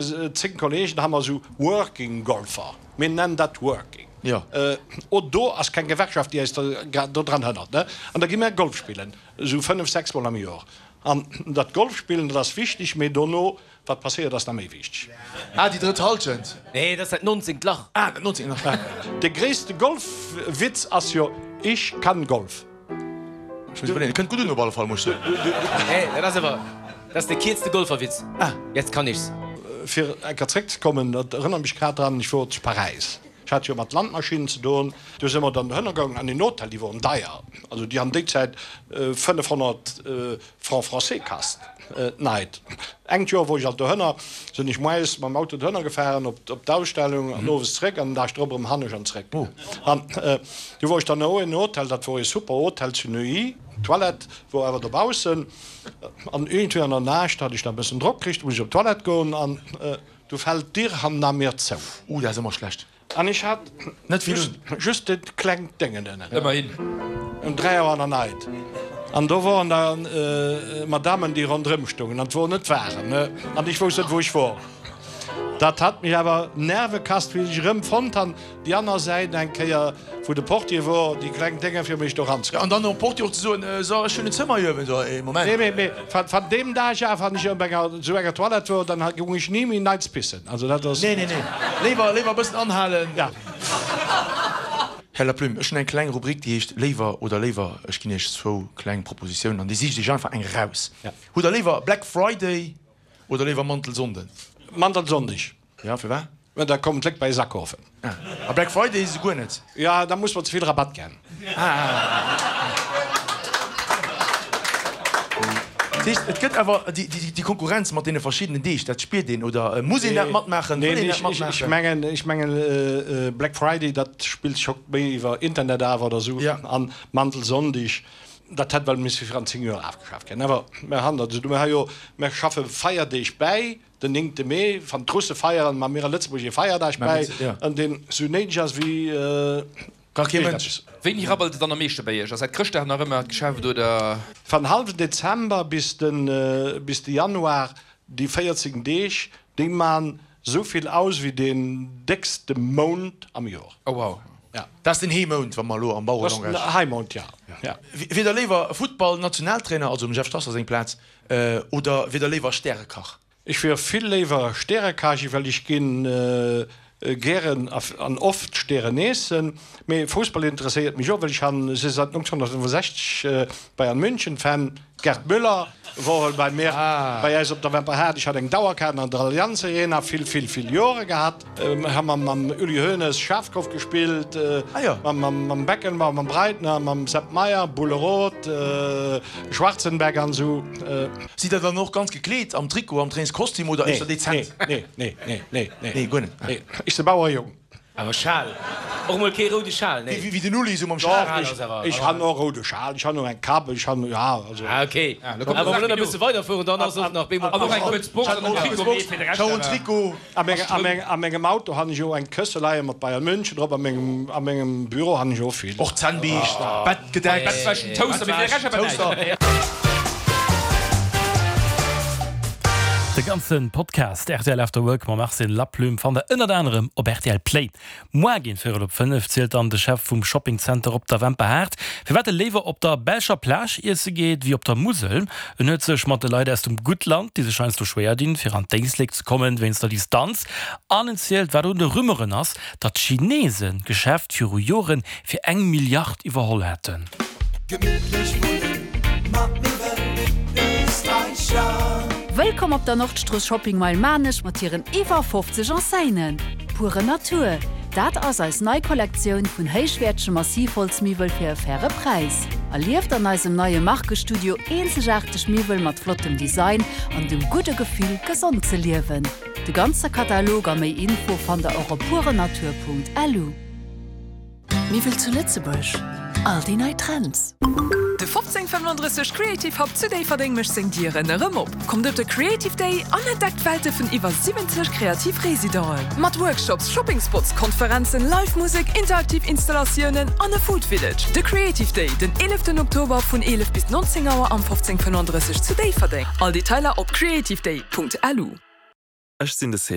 10 Kollegen ha mer esou Working Golfer, mir nennen dat Working. O do ass keng Gewerkschaft déi eis do dran hënnert, ne? An da gi mer Golf spillen, esou 5, 6 mol am Joer. An dat Golf spillen, dat ass wichteg, mee dono wat passéiert ass nach méi wichteg. Ah, déi drëtt Halschent. Nee, dat ass dat nonzéngt Lach. Ah, dat nonzéngt Lach. De gréisste Golfwitz ass jo, Ich kann Golf. Ech muss iwwerleeën. Kënnt gutt un op alle Fall, muss ech soen. Nee, dat ass awer, dat ass de kierzte Golferwitz. Ah. Jetzt kann ich's. Fir eng Kéier zréckzekommen, dat erënnert mech grad dran, ech wor zu Paräis, ech hat jo mat Landmaschinnen ze doen, do si mer dann dohënner gaangen an een Hotel, déi woren deier, also déi han déi Zäit 500 Francs français kasst d'Night. Engt Joer wor ech alt dohënner, sinn ech moies mam Auto dohënner gefahren op d'Ausstellung an owes zréck an den Dag drop erëm hannescht an zréck. An du wor ech dann no en Hotel, dat wor ee super Hotel zu Neuilly, d'Toilette wor awer dobaussen an iergendwéi an der Nacht hat ech da e bëssen Drock kricht, muss ech op d'Toilette goen an du fält d'Dier hanner mir zou. Uh, dat ass ëmmer schlecht. An ech hat Net vill un. just dat klengt Déngen ënnen. Ëmmerhin. Um 3 Auer an der Nait. An do woren da Madammen, déi ronderëm stoungen. An 't wor net waarem, ne? An ech wousst net, wou ech wor. Dat hat mech awer Nerve kasst, wéi ech erëm fonnt han, déi aner Säit eng Kéier, wou de Portier wor, déi kleng Dénge fir mech do ranzekréien. An dann nom Portier och ze soen, So, ech hunn en Zëmmer hir. So, ee Moment. Nee, mee, mee van deem Dag af, wann ech op enger, sou enger Toilette wor, dann goung ech ni méi neits pissen. Also dat ass. Nee, nee, nee. Léiwer, léiwer e bëssen anhalen. Ja. Här Laplume, ech hunn eng kleng Rubrik, déi heescht Léiwer oder léiwer. Ech ginn Iech zwou kleng Propositiounen an Dir sicht Iech einfach eng eraus. Ja. Hutt Der léiwer Black Friday oder léiwer Mantelsonnden? Mantelsonndeg. Ja, firwat? Well da kommen d'Léck bei eis akafen. Ah, a Black Friday esou guer net? Ja, da muss mer ze vill Rabatt gän. Ah. Dat heescht, et gëtt awer déi Konkurrenz mat deene verschiddenen Deeg, dat spiert een, oder muss een dat matmaachen, wëll een dat matmaachen? Ech mengen, ech mengen Black Friday, dat spillt sech och méi iwwer Internet af oder esou, an Mantelsonndeg, dat hätt well misse virun 10 Joer afgeschaaft ginn. Awer mer han dat esou, mer ha jo, mer schaffe Feierdeeg bäi, Den néngte Mee, wann d'Russe feieren, ma mir a Lëtzebuerg ee Feierdag bäi, an deen sou néideg ass wéi Gar kee Mënsch. Wéini rabbelt et dann am meeschte bei Iech? Ass dat Chrëschtdag nach ëmmer d'Geschäft oder? Van hallwen Dezember bis de bis de Januar, déi 14 Deeg, déi man sou vill aus wéi deen déckste Mount am Joer. Oh wow. Ja. Dat ass den Heemount, wa mer elo am Bauerelangage. Dat ass den Heimount, ja. Ja. Wier der léiwer Futtball-Nationaltrainer, also dem Jeff Strasser seng Plaz, Oder wier der léiwer Stärekach? Ech wier vill léiwer Stärekach, well ech ginn gären an oft Stären eessen. Mee Fussball interesséiert mech och, well ech han si seit 1965 Bayern München Fan. Gerd Müller wor bei mir bei äis op der Wemperhaart. Ech hat eng Dauerkaart an der Allianz Arena vill vill vill Jore gehat. Hu mer mam Uli Hoeneß Schafkopf gespillt, mam Beckenbauer, mam Breitner, mam Sepp Maier, Bulle Roth, Schwarzenbeck an esou. Sidd der dann och ganz gekleet, am Trikot, am Trainingskostüm oder éischter dezent? Nee, nee, nee, nee, nee. Nee, guer net? Nee, ech si Bauerjong. Awer Schal, och mol kee roude Schal, nee? Wéi den Uli, esou mam Schal. Doch, ech han och roude Schal, ech han och eng Kap, ech han, ja, also. Ah, ok. Awer wa mer elo nach e bësse weiderfueren, dann ass och nach bemol. An och eng kuerz Box an en Trikot, mee fir de Rescht awer. A mengem Auto han ech och eng Kësse leie mat Bayern München drop, a mengem Büro han ech och vill. Och Zännbiischt, Bettgedeck, Bettwäschen, Toaster, mee fir de Rescht awer näischt. De ganze Podcast rtl After Work mam Arsène Laplume fannt der ënnert anerem op rtl Play. Moar géint véierel op 5 zielt dann de Chef vum Shopping Center op der Wemperhaart, firwat e léiwer op der belscher Plage iesse geet wéi op der Musel. En huet sech mat de Leit aus dem Guttland, déi sech heiansdo schwéier dinn, fir an d'Éislek ze kommen wéinst der Distanz. An en zielt, wat un de Rumeuren ass, datt d'Chinesen d'Geschäft viru Joren fir eng Milliard iwwerholl hätten. Gemittlech wunnen mat Miwwel Österreicher. Wëllkomm op der Nordstrooss Shopping Mile Maarnech mat hiren iwwer 50 Enseignen. Pure Natur, dat ass eis nei Kollektioun vun héichwäertege Massivholzmiwwel fir e faire Präis. Erlieft an eisem neie Markestudio eenzegaarteg Miwwel mat flottem Design an dem gudde Gefill, gesond ze liewen. De ganze Katalog a méi Info fannt der och op purenatur.lu. Miwwel zu Lëtzebuerg, all déi nei Trends. De 1535 Creative Hub zu Déifferdeng mécht seng Dieren erëm op. Kommt op de Creative Day an entdeckt d'Welte vun iwwer 70 kreativ Residenten. Mat Workshops, Shopping Spots, Konferenzen, Live Musek, interaktiv Installatiounen an e Food Village. De Creative Day den 11 Oktober vun 11 bis 19 Auer am 1535 zu Déifferdeng. All Detailer op creativeday.lu. Ech sinn de Cédric.